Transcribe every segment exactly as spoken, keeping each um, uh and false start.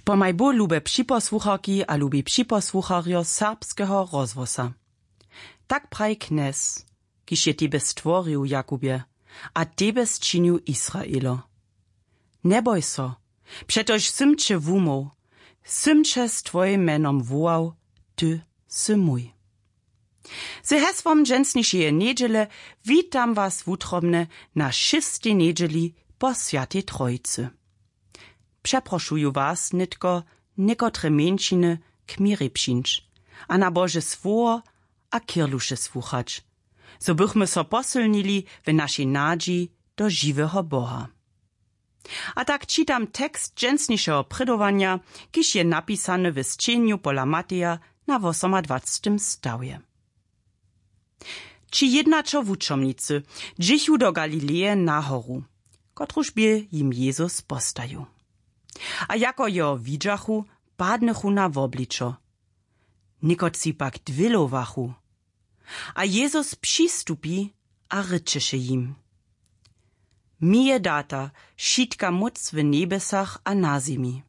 Pomaj bóh, lube připosłucharki a lubi připosłucharjo serbskeho rozhłosa. Tak praji knjez, kiž je tebje stworił, Jakubje, a tebje sčinił, Israelo. Njeboj so, přetož sym će wumóhł, sym će z twojim mjenom wołał, ty sy mój. Z hesłom dźensnišeje njedźele witam was wutrobnje na šěstej njedźeli po Swjatej Trojicy. Přeprošuju was nětko, někotre mjeńšiny, k měrjej přińć a na Bože słowo a kěrluše słuchać, zo bychmy so posylnili w našej nadźi do žiweho Boha. A tak čitam tekst dźensnišeho prědowanja, kiž je napisany w sćenju pola Mateja na wosomadwacetym stawje. Ći jědnaćo wučomnicy dźěchu do Galileje na horu, kotruž bě jim Jezus postajił. A jako jeho widźachu, padnychu na wobličo. Někotři pak dwělowachu. A Jezus přistupi a rěčeše jim: Mi je data wšitka móc w njebjesach a na zemi.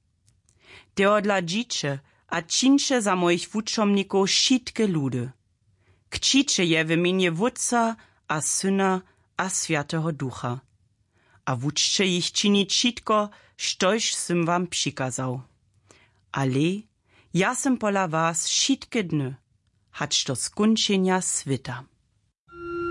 Tehodla dźiće a čińće za mojich wučomnikow wšitke ludy. Kćiće je w mjenje Wótca a Syna a Swjateho Ducha. A wučće jich činić wšitko, štož sym wam přikazał. Ale ja sym pola was wšitke dny, hač do skónčenja swěta.